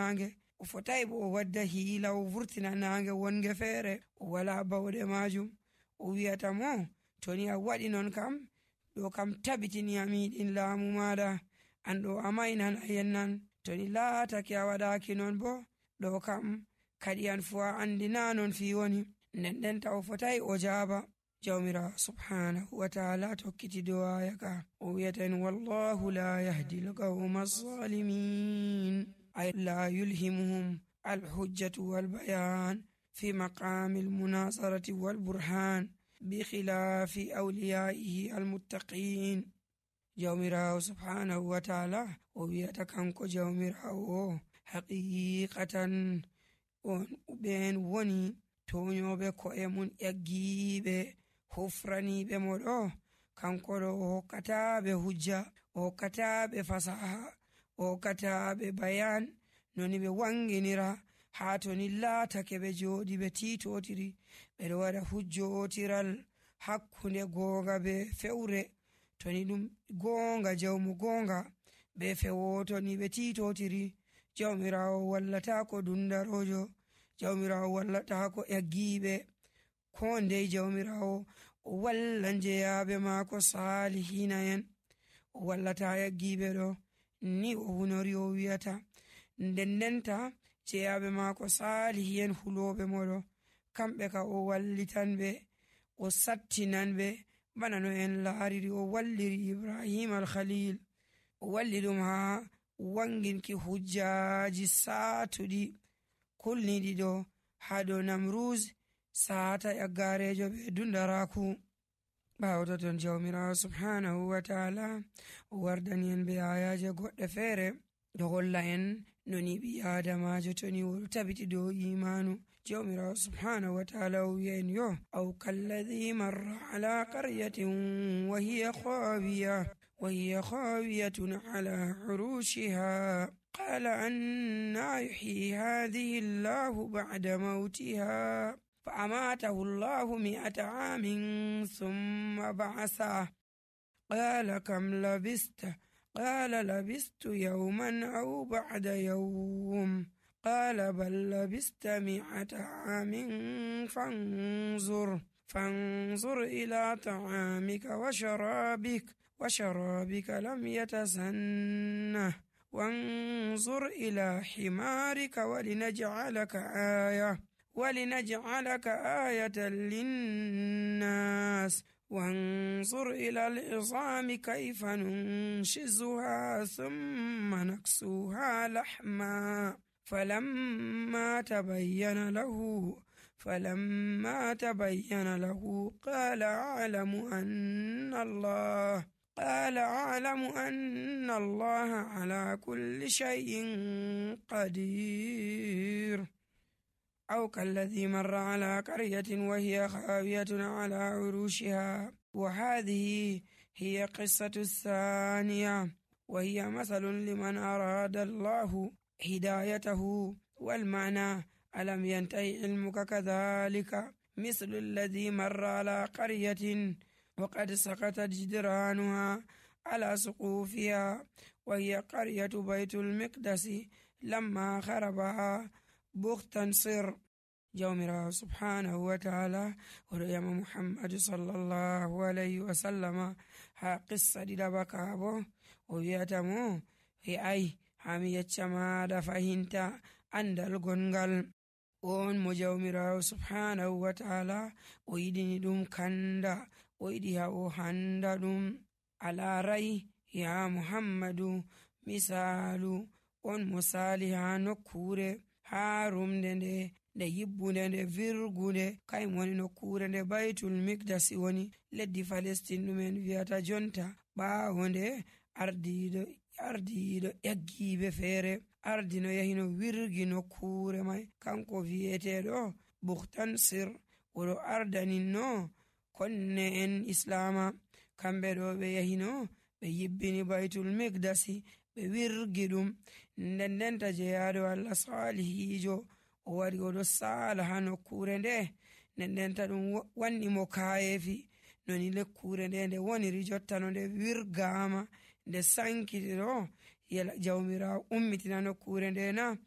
naange, o fotai bo o wadda hiila o vurtina naange wonge feere o wala bauɗe majum. O wi'ata mo to ni a waɗi non kam ɗo kam tabitini a miɗin laamu maɗa, an ɗo a mainan a yennan. To ni laatake a waɗaki non bo ɗo kam kadi an fu a andi na non fi woni. Nden ta o fotai o jaaba. Jawmirawo subhanahu wa ta'ala tokkiti dow aya ka o wi'ata wallahu la yahdi al-qawma az-zalimin, ay la yulhimuhum al-hujjatu wal-bayan fi maqami al-munazarati wal-burhan bi khilafi awliyaihi al-muttaqin. Jawmirawo subhanahu wa ta'ala o wi'ata kanko jawmirawo haqiqatan on ɓen woni toñoɓe ko'e mun ƴaggiɓe hufraniɓe mo ɗo. Kanko ɗo o hokkataɓe hujja, o hokkataɓe fasaha, o hokkataɓe bayan noni ɓe wanginira ha to ni laatake ɓe jooɗi ɓe titotiri ɓeɗo waɗa hujjotiral hakkunde gonga be fewre. To ni ɗum gonga jawmu gonga be fewoto ni ɓe titotiri, jawmirawo wallatako dundarojo, jawmirawo wallatako ƴaggiɓe ko ndei. Jawmirawo o walla jeyaɓe maako salihina en, o wallata ƴaggiɓe ɗo ni o hunori o wi'ata. Ndendenta jeyaɓe maako salihi en huloɓe moɗo kamɓe ka o wallitan ɓe, o sattinan ɓe bana no en laariri o walliri Ibrahim al-Khalil. O walli ɗum ha wanginki hujjaji saatuɗi kulniɗi ɗo ha dow Namruz saata ƴaggarejo ɓe dundaraku. ɓawo toton jawmirawo subhanahu wa ta'ala o wardani en be ayaje goɗɗe feere ɗo holla en noni ɓi adamajo toni oɗo tabiti dow imanu. jawmirawo subhanahu wa ta'ala o wi'a en yo aw kalladhi marra ala qaryatin wa hiya khawiyatun ala urushiha qala anna yuhyi hadhihi Allahu ba'da mawtiha فأماته الله 100 عام ثم بعثه قال كم لبثت قال لبثت يوما أو بعد يوم قال بل لبثت 100 عام فانظر إلى طعامك وشرابك لم يتسنه وانظر إلى حمارك ولنجعلك آية للناس وانظر إلى العظام كيف ننشزها ثم نكسوها لحما فلما تبين له قال أعلم أن الله على كل شيء قدير. أو كالذي مر على قرية وهي خاوية على عروشها. وهذه هي قصة الثانية، وهي مثل لمن أراد الله هدايته. والمعنى ألم ينتهي علمك كذلك مثل الذي مر على قرية وقد سقطت جدرانها على سقوفها، وهي قرية بيت المقدس لما خربها بختنصر. jawmirawo subhanahu wa ta'ala oɗo yama muhammadu sallallahu alayhi wa sallama ha qissa ɗiɗaba ka bo o wi'ata mo ai hami yecca maɗa fahinta andal gongal on mo jawmirawo subhanahu wa ta'ala o yiɗini ɗum kanda, o yiɗi ha o handa ɗum. alarai ya muhammadu misalu on mo sali ha nokkure ha rumde nde yibbunde nde virgunde kay woni nokkure nde baytul mikdasi woni leddi Palestine ɗumen wiyata jonta. ɓawo nde ardiɗo ƴaggiɓe feere ardino yahino wirgi nokkure mai kanko wiyeteɗo Bukhtansir. oɗo ardaninno konne en islama kamɓe ɗo ɓe yahino ɓe yibbini baytul mikdasi ɓe wirgi ɗum. ndendenta jeyaɗo Allah salihijo o wari oɗo sala ha nokkure nde. ndendenta ɗum wanni mo kayefi noni lekkure nde woniri jotta no nde wirgama nde sankiti ɗo jawmirawo ummitina nokkure nde na